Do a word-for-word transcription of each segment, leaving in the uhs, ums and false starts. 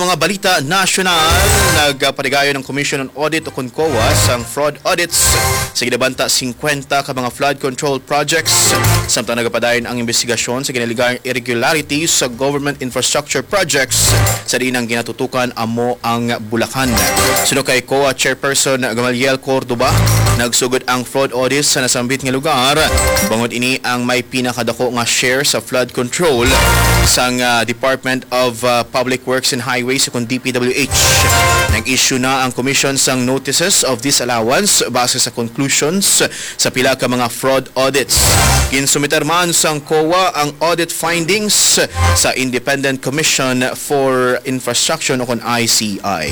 Mga balita nasyonal, nagpatigayon ang Commission on Audit o kon COA sang fraud audits sa ginabanta singkwenta ka mga flood control projects, samtang nagapadayon ang imbestigasyon sa ginalegar irregularities sa government infrastructure projects sa diin ang ginatutukan amo ang Bulacan. Suno kay COA Chairperson Gamaliel Cordoba, nagsugod ang fraud audit sa nasambit nga lugar, bangod ini ang may pinakadako nga share sa flood control sang, ah, Department of, ah, Public Works and Highways o kon D P W H. Nag-issue na ang Commission sang notices of disallowance base sa conclusions sa pila ka mga fraud audits. Ginsumiter man sang COA ang audit findings sa Independent Commission for Infrastructure o kon I C I.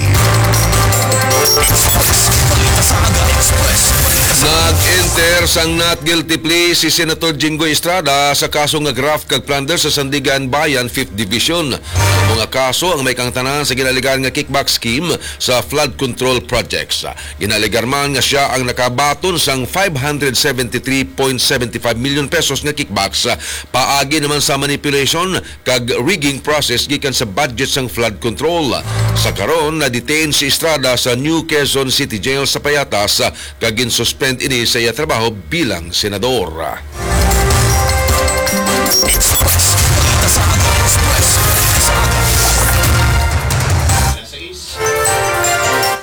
Nag-enter sang not guilty plea si Senator Jinggoy Estrada sa kaso nga graft kag plunder sa Sandiganbayan Fifth Division. Ang mga kaso ang may kaangtanan sa ginalegar nga kickback scheme sa flood control projects. Ginalegar man nga sia ang nakabaton sang five hundred seventy-three point seventy-five million pesos nga kickbacks, paagi naman sa manipulation kag rigging process gikan sa budget sang flood control. Sa karon, na-detain si Estrada sa New Quezon City Jail sa Payatas, kag ginsuspend ini sa iya trabaho bilang senador.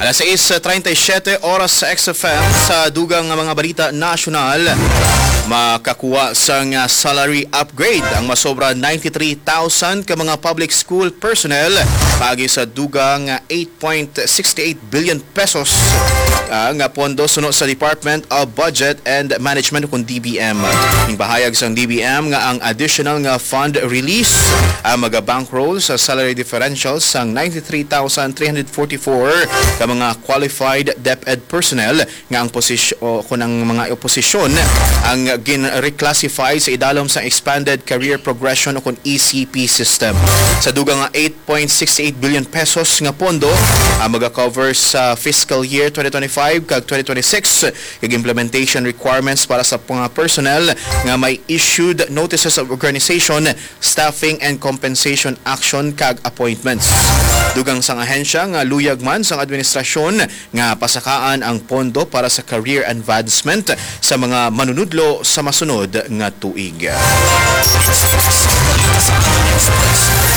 Alas sais treinta y siete oras sa X F M. Sa dugang nga mga balita nasyonal, makakuha sang, ah, salary upgrade ang masobra ninety-three thousand ka mga public school personnel paagi sa dugang nga eight point sixty-eight billion pesos, ah, nga pondo suno sa Department of Budget and Management o kon D B M. Ginpahayag sang D B M nga ang additional nga fund release ang magabankroll sa salary differential sang ninety-three thousand three hundred forty-four ka mga qualified DepEd personnel nga ang posisyon o kon ang mga posisyon ang gin-reclassify sa idalom sang Expanded Career Progression o kon E C P system. Sa dugang nga eight point six eight billion pesos nga pondo ang maga-cover sa fiscal year twenty twenty-five kag twenty twenty-six, kag implementation requirements para sa mga personnel nga may issued notices of organization, staffing and compensation action kag appointments. Dugang sang ahensya nga luyag man sang administrasyon nga pasakaan ang pondo para sa career advancement sa mga manunudlo sa masunod nga tuig.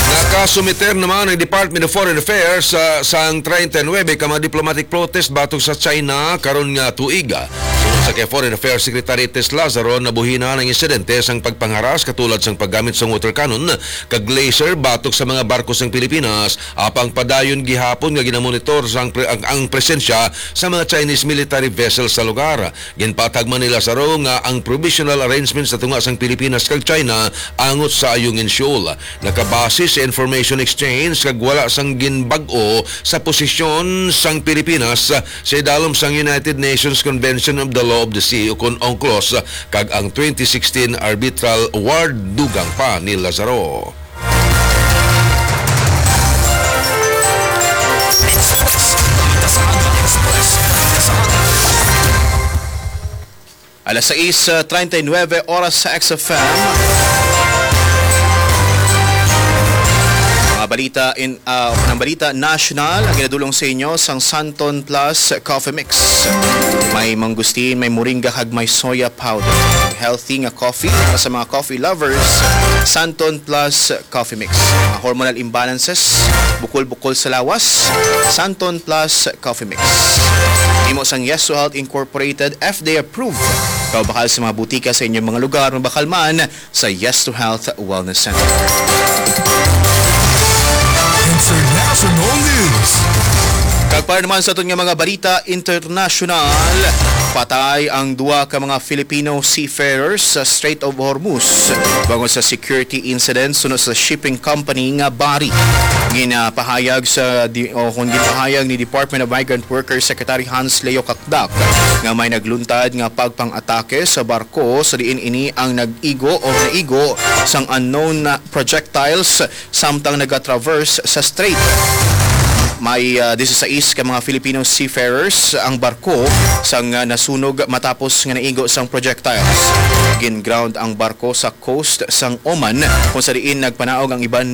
Nakasumiter naman ang Department of Foreign Affairs sa, sang treinta y nuebe ka mga diplomatic protest batok sa China karon nga tuig. Suno sa kay Foreign Affairs Secretary Tess Lazaro, nabuhinan ang insidente sang pagpangharas katulad sang paggamit sang water cannon kag laser batok sa mga barko sang Pilipinas, apang padayon gihapon nga ginamonitor sang pre-, ang, ang presensya sa mga Chinese military vessels sa lugar. Ginpatag man ni Lazaro nga ang provisional arrangements sa tunga sang Pilipinas kag China angot sa ayungin Seoul. Nakabase sa information exchange kag wala sang ginbag-o sa posisyon sang Pilipinas sa idalom sang United Nations Convention of the Law of the Sea, ukon UNCLOS, kag ang twenty sixteen arbitral award, dugang pa ni Lazaro. Alas sais treinta y nuebe oras sa X F M. Mga balita in, ah, ng balita national ang ginadulong sa inyo sang Santon Plus Coffee Mix. May mangustin, may moringa, kag may soya powder. Healthy nga coffee para sa mga coffee lovers. Santon Plus Coffee Mix. Mga hormonal imbalances, bukol-bukol sa lawas. Santon Plus Coffee Mix. Imo sang Yes to Health Incorporated, F D A approved. Kaubakal sa mga butika sa inyong mga lugar, mabakal man sa Yes to Health Wellness Center. International News. Kag para naman sa aton nga mga balita international, patay ang duha ka mga Filipino seafarers sa Strait of Hormuz bangod sa security incident suno sa shipping company nga bari. Ginapahayag sa di-, o kung ginpahayag ni Department of Migrant Workers Secretary Hans Leo Cacdac nga may nagluntad nga pagpang-atake sa barko sa diin ini ang nag-igo o naigo sang unknown na projectiles samtang nagatraverse sa strait. May, ah, disisais ka mga Filipino seafarers ang barko sang, ah, nasunog matapos nga naigo sang projectiles. Gin-ground ang barko sa coast sang Oman, kung sa diin nagpanaog ang iban